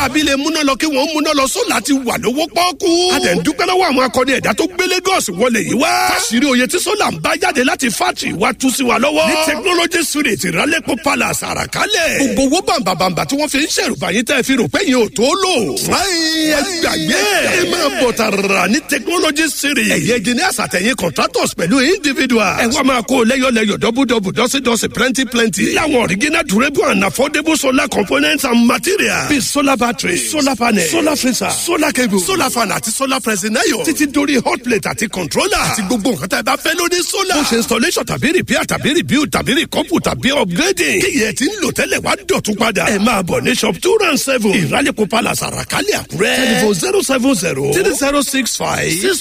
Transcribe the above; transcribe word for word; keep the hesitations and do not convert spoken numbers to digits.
Aráabí lè múná lọ kí wọ́n múná lọ, solar ti wà lówó pọ́ọ́kú. A dẹ̀ ń dúpẹ́ lọ́wọ́ àwọn akọni ẹ̀dá tó gbé Lagos wọlé yìí wá. Káṣírí oye tí solar ń bá jáde láti factory wa tú sí wa lọ́wọ́. Ní Technology Street, Ìrálẹ́pọ̀ Palace, Àràkálẹ̀. Gbogbo owó bàǹbàǹbà tí wọ́n fi ń ṣèrùbà yín tẹ́ fi rò pé yín ò tó lò. Ẹ gbàgbé, ẹ máa bọ̀ tààrà ní Technology Street. Ẹ̀yẹ engineers àtẹ̀yìn contractors pẹ̀lú individuals. Ẹ wá máa kó lẹ́yọ̀lẹ́yọ̀, double double, dọ́sídọ́sí, plenty plenty. Láwọn original, durable and affordable solar components and materials. Bíi solar battery, solar panel, solar freezer, solar cable, solar fan àti solar pressing iron. Títí dórí hot plate àti controller. Àti gbogbo nǹkan tá ẹ bá fẹ́ lórí solar. Ó ṣe installation tàbí repair tàbí rebuild tàbí recouple tàbí upgrading. Kíyẹ̀ tí ń lò tẹ́lẹ̀ wá dọ̀tún padà. Ẹ máa bọ̀ ní shop two round seven, Ìrálẹ̀kọ̀ Palace, Àràkálẹ̀, Àkúrẹ́. Telephone zero seven zero three zero six five six two.